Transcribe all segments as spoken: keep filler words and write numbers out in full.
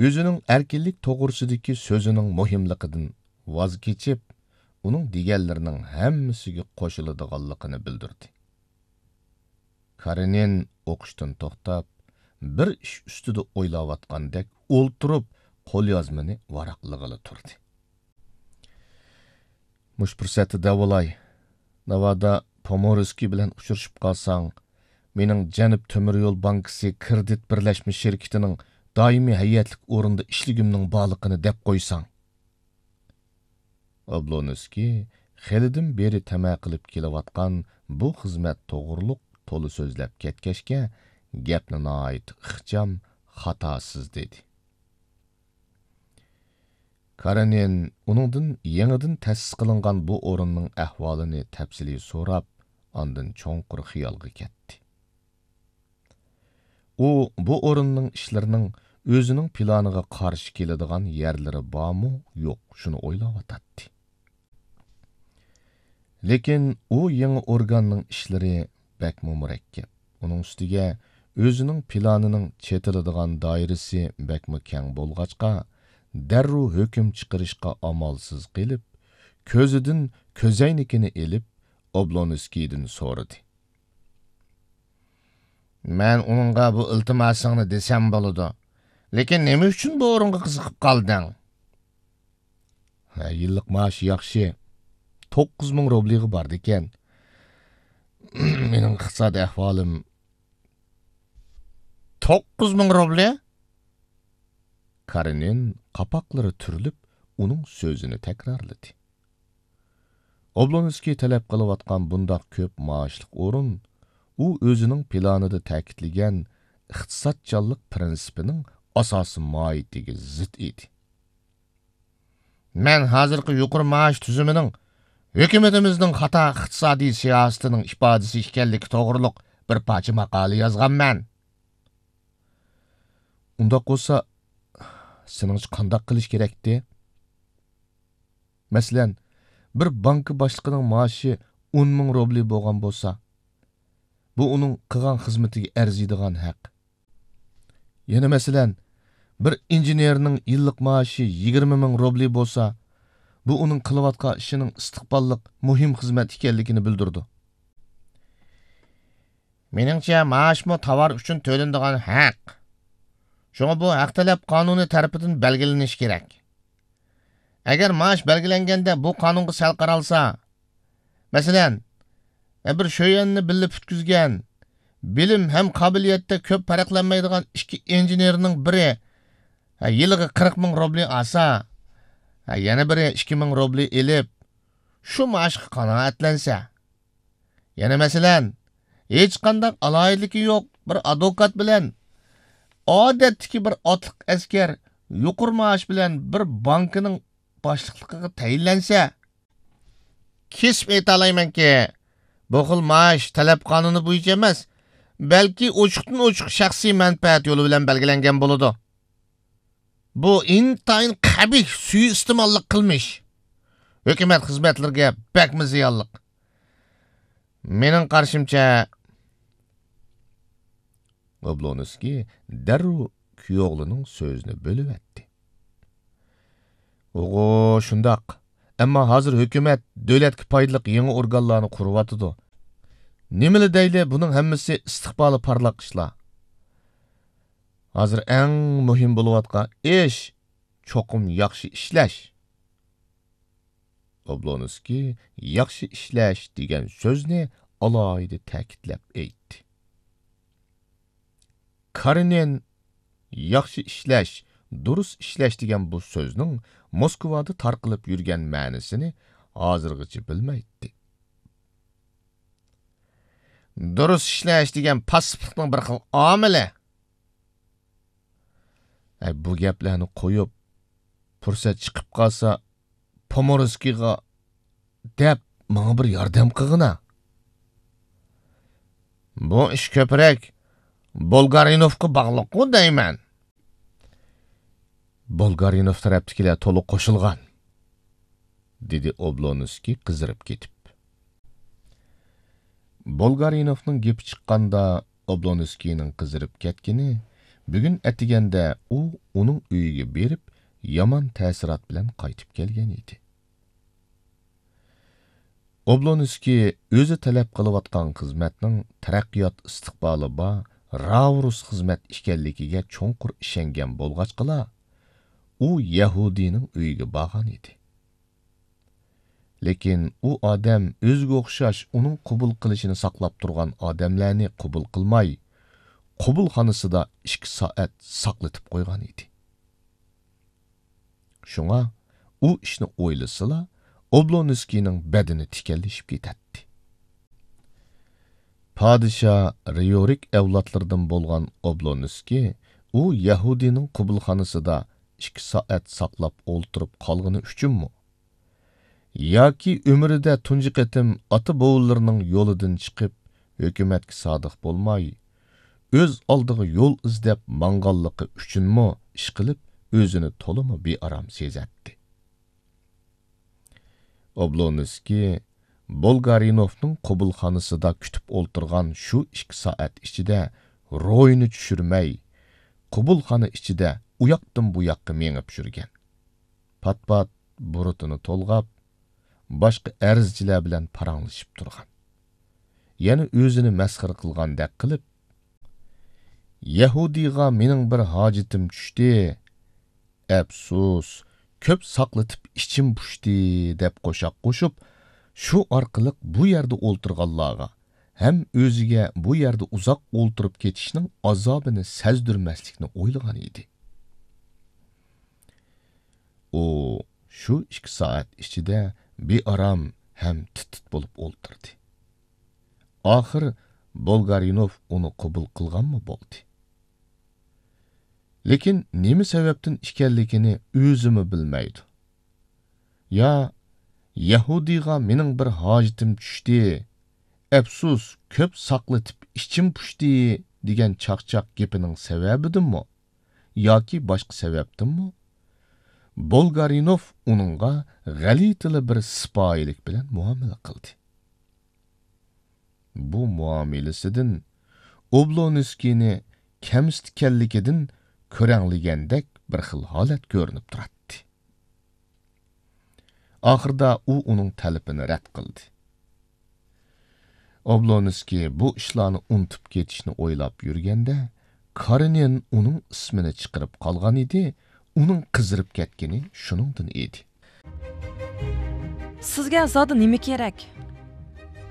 ئۆزىنىڭ ئەركىنلىك توغرىسىدىكى سۆزىنىڭ مۇھىملىقىدىن ۋاز كېچىپ، ئۇنىڭ دېگەنلىرىنىڭ ھەممىسىگە قوشۇلىدىغانلىقىنى بىلدۈردى. كارېنىن ئوقۇشتىن توختاپ، بىر ئىش ئۈستىدە ئويلاۋاتقاندەك ئولتۇرۇپ، قوليازمىنى ۋاراقلىغىلى تۇردى. مۇشۇ پۇرسەتتە دەۋالاي، ناۋادا پومورسكىي بىلەن ئۇچرىشىپ قالساڭ، مېنىڭ جەنۇب تۆمۈر يول بانكىسى كىرېدىت بىرلەشمە شىركىتىنىڭ دائىمىي ھەيئەتلىك ئورنىدا ئىشلىگۈمنىڭ بارلىقىنى دەپ قويساڭ. ئوبلونسكىي خېلىدىن بېرى تەمە قىلىپ كېلىۋاتقان بۇ خىزمەت توغرۇلۇق تولا سۆزلەپ كەتكەچكە، گەپنى ناھايىتى ئىخچام، خاتاسىز دېدى. كارېنىن ئۇنىڭدىن يېڭىدىن تەسىس قىلىنغان بۇ ئورۇننىڭ ئەھۋالىنى تەپسىلىي سوراپ، ئاندىن چوڭقۇر خىيالغا كەتتى. ئۇ بۇ ئورۇننىڭ ئىشلىرىنىڭ ئۆزىنىڭ پىلانىغا قارشى كېلىدىغان يەرلىرى بارمۇ، يوق، شۇنى ئويلاۋاتاتتى. لېكىن ئۇ يېڭى ئورگاننىڭ ئىشلىرى بەكمۇ مۇرەككەپ. ئۇنىڭ ئۈستىگە ئۆزىنىڭ پىلانىنىڭ چېتىلىدىغان دائىرىسى بەكمۇ كەڭ بولغاچقا، دەررۇ ھۆكۈم چىقىرىشقا ئامالسىز قېلىپ، كۆزىدىن كۆزەينىكىنى ئېلىپ، ئوبلونسكىيدىن سورىدى. مەن ئۇنىڭغا بۇ ئىلتىماسىڭنى دېسەم بولىدۇ. لېكىن نېمە ئۈچۈن بۇ ئورۇنغا قىزىقىپ قالدىڭ؟ ھە، يىللىق مائاشى ياخشى. توققۇز مىڭ روبلىغا بارىدىكەن. مېنىڭ ئىقتىسادىي ئەھۋالىم. توققۇز مىڭ روبلى؟ كارېنىن قاپاقلىرى تۈرۈلۈپ، ئۇنىڭ سۆزىنى تەكرارلىدى. ئوبلونسكىي تەلەپ قىلىۋاتقان بۇنداق كۆپ مائاشلىق ئورۇن، ئۇ ئۆزىنىڭ پىلانىدا تەكىتلىگەن ئىقتىسادچانلىق پىرىنسىپىنىڭ ئاساسىي ماھىيىتىگە زىت ئىدى. مەن ھازىرقى يۇقىرى مائاش تۈزۈمىنىڭ ھۆكۈمىتىمىزنىڭ خاتا ئىقتىسادىي سىياسىتىنىڭ ئىپادىسى ئىكەنلىكى توغرۇلۇق بىر پارچە ماقالە يازغانمەن. ئۇنداق بولسا، سېنىڭچە قانداق قىلىش كېرەكتى؟ مەسىلەن، بىر بانكا باشلىقىنىڭ مائاشى ئون مىڭ روبلى بولغان بولسا، بۇ ئۇنىڭ قىلغان خىزمىتىگە ئەرزىيدىغان ھەق. يەنە مەسىلەن، بىر ئىنژېنېرنىڭ يىللىق مائاشى يىگىرمە مىڭ روبلى بولسا، بۇ ئۇنىڭ قىلىۋاتقان ئىشىنىڭ ئىستىقباللىق مۇھىم خىزمەت ئىكەنلىكىنى بىلدۈرىدۇ. مېنىڭچە، مائاشمۇ تاۋار ئۈچۈن تۆلىنىدىغان ھەق. شۇڭا بۇ ھەق تەلەپ قانۇنى تەرىپىدىن بەلگىلىنىشى كېرەك. ئەگەر مائاش بەلگىلەنگەندە بۇ قانۇنغا سەل قارالسا، مەسىلەن، بىر شۆيۈەننى بىللە پۈتكۈزگەن، بىلىم ھەم قابىلىيەتتە كۆپ پەرقلەنمەيدىغان ئىككى ئىنژېنېرنىڭ بىرى، ھە، يىلىغا قىرىق مىڭ روبلى ئالسا، ھە، يەنە بىرى ئىككى مىڭ روبلى ئېلىپ، شۇ مائاشقا قانائەتلەنسە. يەنە مەسىلەن، ھېچقانداق ئالاھىدىلىكى يوق بىر ئادۋوكات بىلەن ئادەتتىكى بىر ئاتلىق ئەسكەر يۇقىرى مائاش بىلەن بىر بانكىنىڭ باشلىقلىقىغا تەيىنلەنسە، كېسىپ ئېيتالايمەنكى، بۇ خىل مائاش تەلەپ قانۇنى بويىچە ئەمەس، بەلكى ئوچۇقتىن ئوچۇق شەخسىي مەنپەئەت يولى بىلەن بەلگىلەنگەن بولىدۇ. بۇ ئىنتايىن قەبىھ سۇيىئىستېماللىق قىلمىش. ھۆكۈمەت خىزمەتلىرىگە بەكمۇ زىيانلىق. مېنىڭ قارىشىمچە، ئوبلونسكىي دەررۇ كۈيئوغلىنىڭ سۆزىنى بۆلۈۋەتتى. ئوغۇ، شۇنداق. ئەمما ھازىر ھۆكۈمەت دۆلەتكە پايدىلىق يېڭى ئورگانلارنى قۇرۇۋاتىدۇ. نېمىلا دەيلى، بۇنىڭ ھەممىسى ئىستىقبالى پارلاق ئىشلار. ھازىر ئەڭ مۇھىم بولۇۋاتقان ئىش، چوقۇم ياخشى ئىشلەش. ئوبلونسكىي ياخشى ئىشلەش دېگەن سۆزنى ئالاھىدە تەكىتلەپ ئېيتتى. كارېنىن ياخشى ئىشلەش، دۇرۇس ئىشلەش دېگەن بۇ سۆزنىڭ موسكۋادا تارقىلىپ يۈرگەن مەنىسىنى ھازىرغىچە بىلمەيتتى. دۇرۇس ئىشلەش دېگەن پاسسىپلىقنىڭ بىر خىل ئامىلى. ئەي، بۇ گەپلەرنى قويۇپ، پۇرسەت چىقىپ قالسا، پومورسكىيغا دەپ، ماڭا بىر ياردەم قىلغىنا. بۇ ئىش كۆپرەك بولگارىنوفقا باغلىققۇ دەيمەن. بولگارىنوف تەرەپتىكىلەر تولۇق قوشۇلغان، دېدى ئوبلونسكىي قىزىرىپ كېتىپ. بولگارىنوفنىڭ گېپى چىققاندا، ئوبلونسكىينىڭ قىزىرىپ كەتكىنى بۈگۈن ئەتىگەندە ئۇ ئۇنىڭ ئۆيىگە بېرىپ، يامان تەسىرات بىلەن قايتىپ كەلگەن ئىدى. ئوبلونسكىي ئۆزى تەلەپ قىلىۋاتقان خىزمەتنىڭ تەرەققىيات ئىستىقبالى بار راۋرۇس خىزمەت ئىكەنلىكىگە چوڭقۇر ئىشەنگەن بولغاچقىلا، ئۇ يەھۇدىينىڭ ئۆيىگە بارغان ئىدى. لېكىن ئۇ ئادەم ئۆزىگە ئوخشاش ئۇنىڭ قوبۇل قىلىشىنى ساقلاپ تۇرغان ئادەملەرنى قوبۇل قىلماي، قوبۇلخانىسىدا ئىككى سائەت ساقلىتىپ قويغان ئىدى. شۇڭا ئۇ ئىشنى ئويلىسىلا، ئوبلونسكىينىڭ بەدىنى تىكەنلىشىپ كېتەتتى. پادىشاھ رىيورىك ئەۋلادلىرىدىن بولغان ئوبلونسكىي ئۇ يەھۇدىينىڭ قوبۇلخانىسىدا ئىككى سائەت ساقلاپ ئولتۇرۇپ قالغىنى ئۈچۈنمۇ؟ ياكى ئۆمرىدە تۇنجى قېتىم ئاتا-بوۋىلىرىنىڭ يولىدىن چىقىپ، ھۆكۈمەتكە سادىق بولماي، ئۆز ئالدىغا يول ئىزدەپ ماڭغانلىقى ئۈچۈنمۇ ئىشقىلىپ، ئۆزىنى تولىمۇ بىئارام سېزەتتى. ئوبلونسكىي بولگارىنوفنىڭ قوبۇلخانىسىدا كۈتۈپ ئولتۇرغان شۇ ئىككى سائەت ئىچىدە روھىنى چۈشۈرمەي، قوبۇلخانا ئىچىدە ئۇياقتىن بۇياققا مېڭىپ يۈرگەن. پات-پات بۇرۇتىنى تولغاپ، باشقا ئەرزچىلەر بىلەن پاراڭلىشىپ تۇرغان. يەنە ئۆزىنى مەسخىرە قىلغاندەك قىلىپ، «يەھۇدىيغا مېنىڭ بىر ھاجىتىم چۈشتى. ئەپسۇس، كۆپ ساقلىتىپ ئىچىم پۇشتى» دەپ قوشاق قوشۇپ، شۇ ئارقىلىق بۇ يەردە ئولتۇرغانلارغا ھەم ئۆزىگە بۇ يەردە ئۇزاق ئولتۇرۇپ كېتىشنىڭ ئازابىنى سەزدۈرمەسلىكنى ئويلىغان ئىدى. ئۇ شۇ ئىككى سائەت ئىچىدە بىئارام ھەم تىت-تىت بولۇپ ئولتۇردى. ئاخىر بولگارىنوف ئۇنى قوبۇل قىلغانمۇ بولدى. لېكىن نېمە سەۋەبتىن ئىكەنلىكىنى ئۆزىمۇ بىلمەيدۇ. يا «يەھۇدىيغا مېنىڭ بىر ھاجىتىم چۈشتى، ئەپسۇس، كۆپ ساقلىتىپ ئىچىم پۇشتى» دېگەن چاقچاق گېپىنىڭ سەۋەبىدىنمۇ ياكى باشقا سەۋەبتىنمۇ، بولگارىنوف ئۇنىڭغا غەلىتىلا بىر سىپايىلىك بىلەن مۇئامىلە قىلدى. بۇ مۇئامىلىسىدىن ئوبلونسكىينى كەمسىتكەنلىكىدىن كۆرەڭلىگەندەك بىر خىل ھالەت كۆرۈنۈپ تۇراتتى. ئاخىرىدا ئۇ ئۇنىڭ تەلىپىنى رەت قىلدى. ئوبلونسكىي بۇ ئىشلارنى ئۇنتۇپ كېتىشنى ئويلاپ يۈرگەندە، كارېنىن ئۇنىڭ ئىسمىنى چىقىرىپ قالغان ئىدى، ئۇنىڭ قىزىرىپ كەتكىنى شۇنىڭدىن ئىدى. سىزگە زادى نېمە كېرەك؟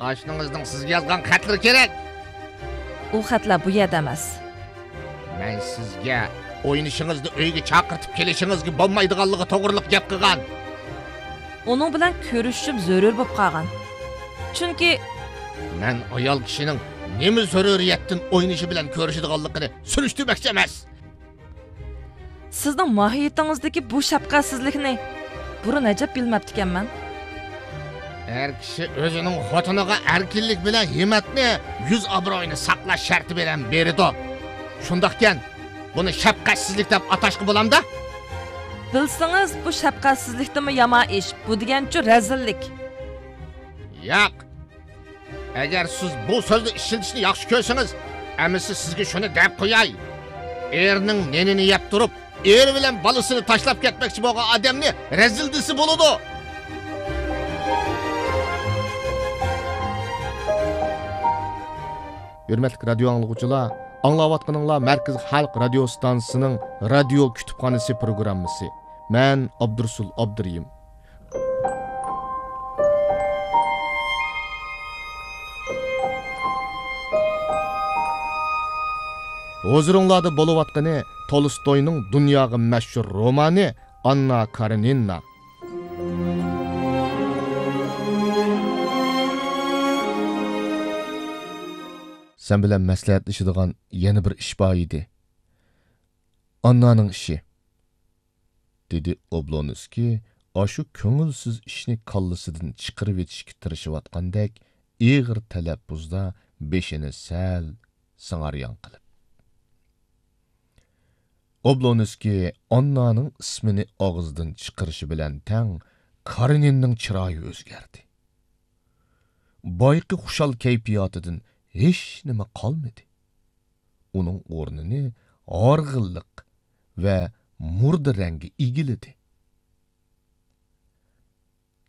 ئاشنىڭىزنىڭ سىزگە يازغان خەتلىرى كېرەك. ئۇ خەتلەر بۇ يەردە ئەمەس. مەن سىزگە ئوينىشىڭىزنى ئۆيگە چاقىرتىپ كېلىشىڭىزگە بولمايدىغانلىقى توغرىلىق گەپ قىلغان. ئۇنىڭ بىلەن كۆرۈشۈشۈم زۆرۈر بولۇپ قالغان. چۈنكى مەن ئايال كىشىنىڭ نېمە زۆرۈرىيەتتىن ئوينىشى بىلەن كۆرۈشىدىغانلىقىنى سۈرۈشتۈرمەكچى ئەمەس. سىزنىڭ ماھىيىتىڭىزدىكى بۇ شەپقەتسىزلىكنى بۇرۇن ئەجەب بىلمەپتىكەنمەن. ئەر كىشى ئۆزىنىڭ خوتۇنىغا ئەركىنلىك بىلەن ھىممەتنى، يۈز ئابرۇيىنى ساقلاش شەرتى بىلەن بېرىدۇ. شۇنداقكەن، بۇنى شەپقەتسىزلىك دەپ ئاتاشقا بولامدا؟ بىلسىڭىز، بۇ شەپقەتسىزلىكتىنمۇ يامان ئىش، بۇ دېگەنچۇ رەزىللىك. ياق. ئەگەر سىز بۇ سۆزنى ئىشلىتىشنى ياخشى كۆرسىڭىز، ئەمىسە سىزگە شۇنى دەپ قوياي. ئېرىنىڭ نېنىنى يەپ تۇرۇپ، ئېرى بىلەن بالىسىنى تاشلاپ كەتمەكچى بولغان ئادەمنى رەزىل دېسە بولىدۇ. ھۆرمەتلىك رادىيو ئاڭلىغۇچىلار، ئاڭلاۋاتقىنىڭلار مەركىزىي خەلق رادىيو ستانسىسىنىڭ رادىيو كۇتۇپخانىسى پروگراممىسى. مەن ئابدۇرۇسۇل ئابدۇرېھىم. ھۇزۇرۇڭلاردا بولۇۋاتقىنى تولستوينىڭ دۇنياغا مەشھۇر رومانى ئاننا كارېنىنا. سەن بىلەن مەسلىھەتلىشىدىغان يەنە بىر ئىش بار ئىدى. ئاننانىڭ ئىشى. دېدى ئوبلونسكىي ئاشۇ كۆڭۈلسىز ئىشنى كاللىسىدىن چىقىرىۋېتىشكە تىرىشىۋاتقاندەك ئېغىر تەلەپپۇزدا بېشىنى سەل سىڭاريان قىلىپ. ئوبلونسكىي ئاننانىڭ ئىسمىنى ئاغزىدىن چىقىرىشى بىلەن تەڭ كارېنىننىڭ چىرايى ئۆزگەردى. بايىقى خۇشال كەيپىياتىدىن ھېچنېمە قالمىدى. ئۇنىڭ ئورنىنى ھارغىنلىق ۋە مۇردا رەڭگە ئىگىلىدى.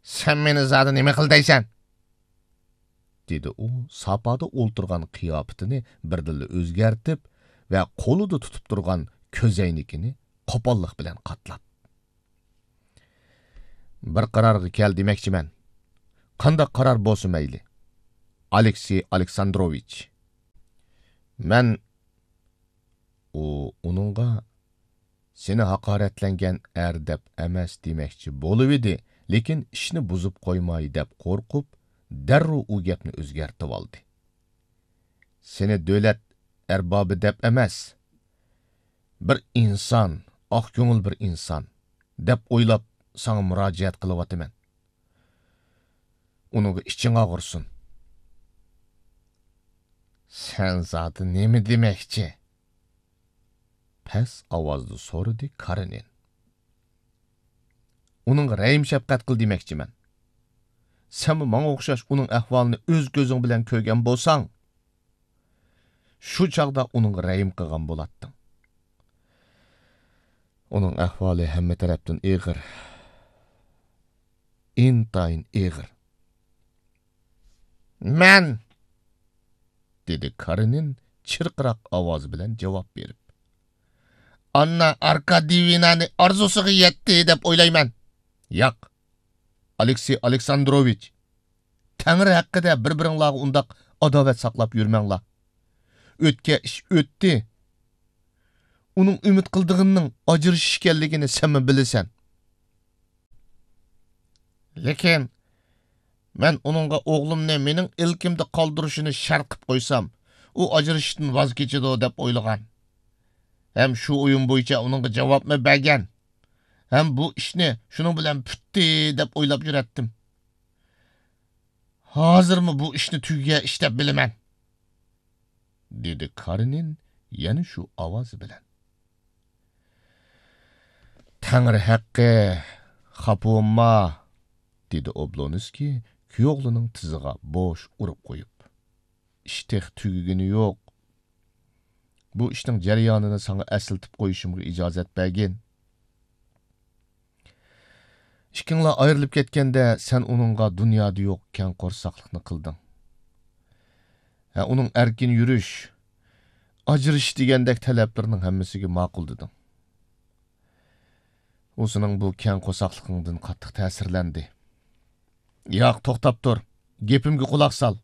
«سەن مېنى زادى نېمە قىل دەيسەن؟» دېدى ئۇ ساپادا ئولتۇرغان قىياپىتىنى بىردىنلا ئۆزگەرتىپ ۋە قولىدا تۇتۇپ تۇرغان كۆزەينىكىنى قوپاللىق بىلەن قاتلاپ. «بىر قارارغا كەل دېمەكچىمەن. قانداق قارار بولسا مەيلى، ئالېكسېي ئالېكساندروۋىچ.» مەن، ئۇ ئۇنىڭغا «سېنى ھاقارەتلەنگەن ئەر دەپ ئەمەس» دېمەكچى بولۇۋىدى، لېكىن ئىشنى بۇزۇپ قويماي دەپ قورقۇپ، دەررۇ ئۇ گەپنى ئۆزگەرتىۋالدى. «سېنى دۆلەت ئەربابى دەپ ئەمەس، بىر ئىنسان، ئاق كۆڭۈل بىر ئىنسان دەپ ئويلاپ، ساڭا مۇراجىئەت قىلىۋاتىمەن. ئۇنىڭغا ئىچىڭ ئاغرىسۇن.» «سەن زادى نېمە دېمەكچى؟» پەس ئاۋازدا سورىدى كارېنىن. «ئۇنىڭغا رەھىم-شەپقەت قىل دېمەكچىمەن. سەنمۇ ماڭا ئوخشاش ئۇنىڭ ئەھۋالىنى ئۆز كۆزۈڭ بىلەن كۆرگەن بولساڭ، شۇ چاغدا ئۇنىڭغا رەھىم قىلغان بولاتتىڭ. ئۇنىڭ ئەھۋالى ھەممە تەرەپتىن ئېغىر. ئىنتايىن ئېغىر.» «مەن!» دېدى كارېنىن چىرقىراق ئاۋازى بىلەن جاۋاب بېرىپ. «ئاننا ئاركادىيېۋنانى ئارزۇسىغا يەتتى دەپ ئويلايمەن.» «ياق، ئالېكسېي ئالېكساندروۋىچ، تەڭرى ھەققىدە بىر-بىرىڭلارغا ئۇنداق ئاداۋەت ساقلاپ يۈرمەڭلار. ئۆتكەن ئىش ئۆتتى. ئۇنىڭ ئۈمىد قىلىدىغىنىنىڭ ئاجرىشىش ئىكەنلىكىنى سەنمۇ بىلىسەن. لېكىن مەن ئۇنىڭغا ئوغلۇمنى مېنىڭ ئىلكىمدە قالدۇرۇشىنى شەرت قىپ قويسام، ئۇ ئاجرىشىشتىن ۋاز كېچىدۇ دەپ ئويلىغان. ھەم شۇ ئويۇم بويىچە ئۇنىڭغا جاۋابمۇ بەرگەن. ھەم بۇ ئىشنى شۇنىڭ بىلەن پۈتتى دەپ ئويلاپ يۈرەتتىم. ھازىرمۇ بۇ ئىشنى تۈگىگەن ئىش دەپ بىلىمەن.» دېدى كارېنىن يەنە شۇ ئاۋازى بىلەن. «تەڭرى ھەققى، خاپا بولما،» دېدى ئوبلونسكىي كۈيئوغلىنىڭ تىزىغا بوش ئۇرۇپ قويۇپ. «ئىش تېخى تۈگىگىنى يوق. بۇ ئىشنىڭ جەريانىنى ساڭا ئەسلىتىپ قويۇشۇمغا ئىجازەت بەرگىن. ئىككىڭلار ئايرىلىپ كەتكەندە، سەن ئۇنىڭغا دۇنيادا يوق كەڭ قورساقلىقنى قىلدىڭ. ھە، ئۇنىڭ ئەركىن يۈرۈش، ئاجرىشىش دېگەندەك تەلەپلىرىنىڭ ھەممىسىگە ماقۇل دېدىڭ. ئۇ سېنىڭ بۇ كەڭ قورساقلىقىڭدىن قاتتىق تەسىرلەندى.» «ياق، توختاپ تۇر. گېپىمگە قۇلاق سال.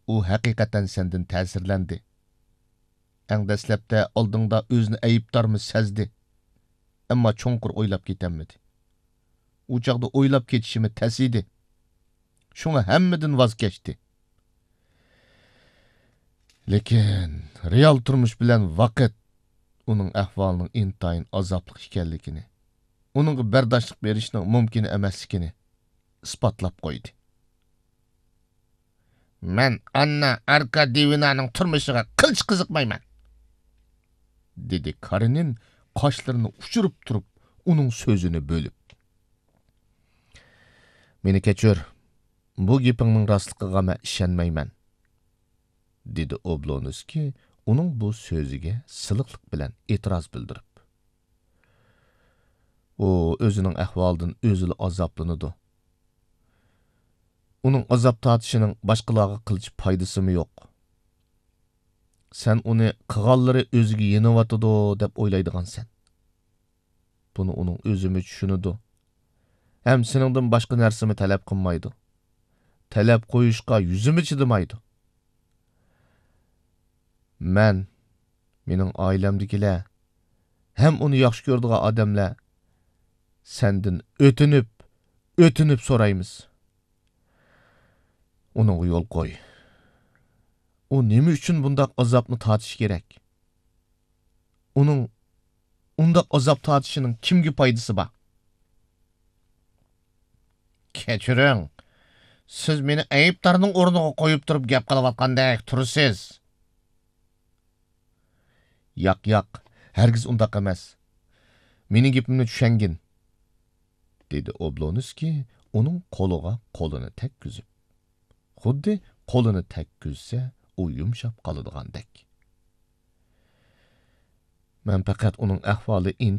ئۇ ھەقىقەتەن سەندىن تەسىرلەندى. ئەڭ دەسلەپتە ئالدىڭدا ئۆزىنى ئەيىبدارمۇ سەزدى. ئەمما چوڭقۇر ئويلاپ كېتەلمىدى. ئۇ چاغدا ئويلاپ كېتىشىمۇ تەس ئىدى. شۇڭا ھەممىدىن ۋاز كەچتى. لېكىن رېئال تۇرمۇش بىلەن ۋاقىت ئۇنىڭ ئەھۋالىنىڭ ئىنتايىن ئازابلىق ئىكەنلىكىنى، ئۇنىڭغا بەرداشلىق بېرىشنىڭ مۇمكىن ئەمەسلىكىنى ئىسپاتلاپ قويدى.» «مەن ئاننا ئاركادىيېۋنانىڭ تۇرمۇشىغا قىلچە قىزىقمايمەن.» دېدى كارېنىن قاشلىرىنى ئۇچۇرۇپ تۇرۇپ ئۇنىڭ سۆزىنى بۆلۈپ. «مېنى كەچۈر، بۇ گېپىڭنىڭ راستلىقىغا مەن ئىشەنمەيمەن.» دېدى ئوبلونسكىي ئۇنىڭ بۇ سۆزىگە سىلىقلىق بىلەن ئېتىراز بىلدۈرۈپ. «ئۇ ئۆزىنىڭ ئەھۋالىدىن ئۆزىلا ئازابلىنىدۇ. ئۇنىڭ ئازاب تارتىشىنىڭ باشقىلارغا قىلچە پايدىسىمۇ يوق. سەن ئۇنى قىلغانلىرى ئۆزىگە يېنىۋاتىدۇ دەپ ئويلايدىغانسەن. بۇنى ئۇنىڭ ئۆزىمۇ چۈشىنىدۇ. ھەم سېنىڭدىن باشقا نەرسىمۇ تەلەپ قىلمايدۇ. تەلەپ قويۇشقا يۈزىمۇ چىدىمايدۇ. مەن، مېنىڭ ئائىلەمدىكىلەر ھەم ئۇنى ياخشى كۆرىدىغان ئادەملەر سەندىن ئۆتۈنۈپ، ئۆتۈنۈپ سورايمىز. ئۇنىڭغا يول قوي. ئۇ نېمە ئۈچۈن بۇنداق ئازابنى تارتىشى كېرەك؟ ئۇنىڭ ئۇنداق ئازاب تارتىشىنىڭ كىمگە پايدىسى بار؟ كەچۈرۈڭ، سىز مېنى ئەيىبدارنىڭ ئورنىغا قويۇپ تۇرۇپ گەپ قىلىۋاتقاندەك تۇرىسىز. ياق، ياق، ھەرگىز ئۇنداق ئەمەس. مېنىڭ گېپىمنى چۈشەنگىن، دېدى ئوبلونسكىي ئۇنىڭ قولىغا قولىنى تەگكۈزۈپ. خۇددى قولىنى تەگكۈزسە، ئۇ يۇمشاپ قالىدىغاندەك. مەن پەقەت ئۇنىڭ ئەھۋالى